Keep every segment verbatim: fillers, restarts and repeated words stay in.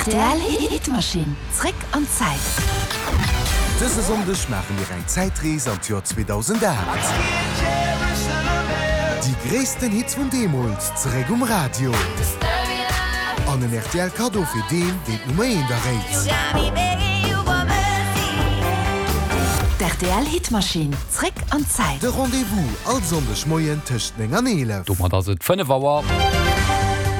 Rtl Hitmaschinn, zréck an d'Zäit. Dëse Sonndeg maache mir eng Zäitrees an d'Joer zweedausendacht. Déi gréissten Hits vun deemools zeréck um Radio. An en R T L Kaddo fir deen, deen d'Nummer eent erréit. D R T L Hitmaschinn, zréck an d'Zäit. De Rendez-vous all Sonndeg Moien tëscht néng an eelef. Domat ass et fënnef Auer.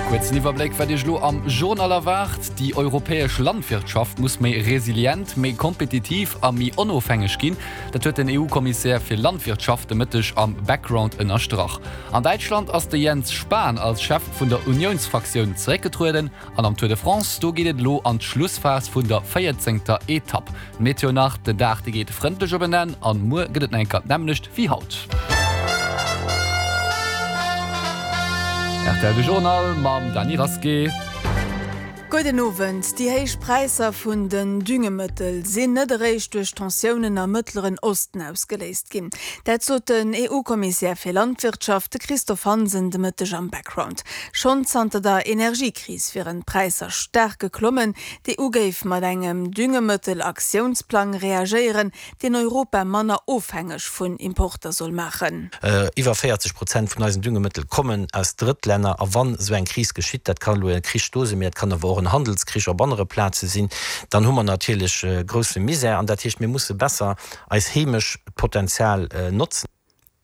Kuerzen Iwwerbléck, wat Iech elo am Journal erwaart. Déi europäesch Landwirtschaft muss méi resilient, méi kompetitiv a méi onofhängeg ginn. Dat huet den E U-Kommissär fir Landwirtschaft de Mëtteg am Background ënnerstrach. An Däitschland ass de Jens Spahn als Chef vun der Uniounsfraktioun zeréckgetrueden. An am Tour de France, do geet et elo an d'Schlussphas vun der véierzéngter Etapp. Meteo nach, Den Dag dee geet frëndlech op en Enn an muer gëtt et nach eng Kéier d'nämmlecht wéi haut. R T L de Journal mam Dany Rasqué. Gudden Owend. Déi héich Präisser vun den Düngemëttel sinn net eréischt duerch Tensiounen am Mëttleren Osten ausgeléist ginn. Dat sot den E U-Kommissär fir Landwirtschaft, de Christophe Hansen, de Mëtteg am Background. Schonn zanter der Energiekris wieren d'Präisser staark geklommen. D'E U géif mat engem Düngemëttel-Aktiounsplang reagéieren, deen Europa manner ofhängeg vun Importer soll maachen. Iwwer véierzeg Prozent vun eisen Düngemëttel kommen aus Drëttlänner. A wann esou eng Kris geschitt, dat kann elo e Krich do sinn, mee dat kann awer och en Handelskrich op anere Plaze sinn, dann hu mer natierlech grousse Misär. An dat heescht, mir musse besser eis heemescht Potenzial notzen.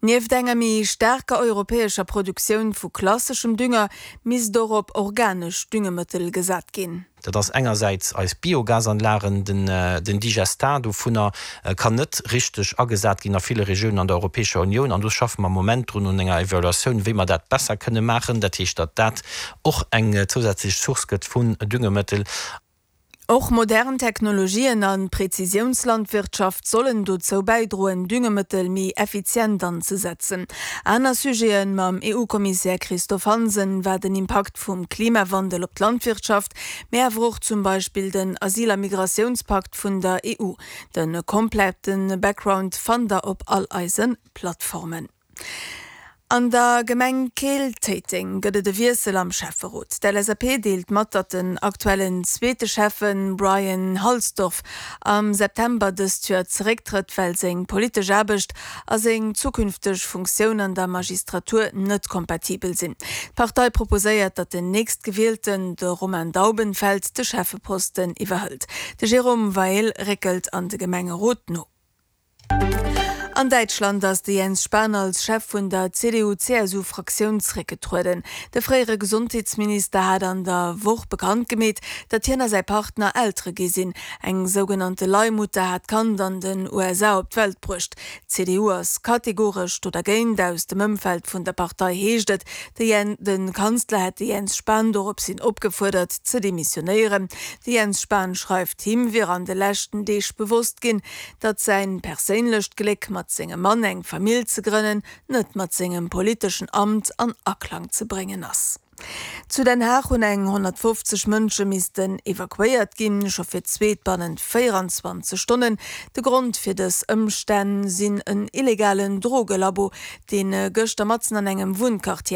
Nieft enger méi staarker europäescher Produktioun vu klasseschem Dünger misst och op organesch Düngemëttel gesat ginn. Dat ass engersäits eis Biogasanlagen, den den Digestat dovunner kann net richteg agesat ginn a ville Regiounen an der Europäescher Unioun an do schaffe mer am Moment drun un enger Evaluatioun, wéi mer dat besser kënne maachen, dat heescht, datt dat och eng zousätzlech Source gëtt vun Düngemëttel. Och modern Technologien an Präzisiounslandwirtschaft sollen dozou bäidroen, Düngemëttel méi effizient anzesetzen. Aner Sujeten mam E U-Kommissär Christophe Hansen war den Impakt vum Klimawandel op d'Landwirtschaft, mee awer och zum Beispill den Asyl- a Migratiounspakt vun der E U. De komplette Background fannt der op all eise Plattformen. An der Gemeng Keel-Téiteng gëtt et e Wiessel am Schäfferot. D'L S A P deelt mat, datt den aktuellen zweete Schäffen Brian Halsdorf am September dëst Joer zerécktrëtt, well seng politesch Aarbecht a seng zukünfteg Funktioun an der Magistratur net kompatibel sinn. D'Partei proposéiert, datt den nächstgewielten, de Romain Daubenfeld, de Schäffeposten iwwerhëlt. De Jérôme Weill réckelt an de Gemengerot no. An Däitschland ass de Jens Spahn als Chef vun der C D U-C S U-Fraktioun zeréckgetrueden. De fréiere Gesondheetsminister hat an der Woch bekannt gemeet, datt hien a säi Partner Eltere gi sinn. Eng sougenannte Leihmutter hat d'Kand an den U S A op d'Welt bruecht. D'C D U ass kategoresch do dergéint. Aus dem Ëmfeld vun der Partei heescht et, de Jen de Kanzler hätt de Jens Spahn doropshin opgefuerdert ze demissionéieren. De Jens Spahn schreift, him wier an de leschten Deeg bewosst ginn, datt säin perséinlecht Gléck mat sengem Mann eng Famill ze grënnen, net mat sengem politeschen Amt an Aklang ze bréngen ass. Zu Den Haag hunn eng honnertfofzeg Mënsche missten evakuéiert ginn, scho fir d'zweet bannent véierenzwanzeg Stonnen. De Grond fir dës Ëmstänn sinn en illegalen Drogelabo, dee gëschter matzen an engem Wunnquartier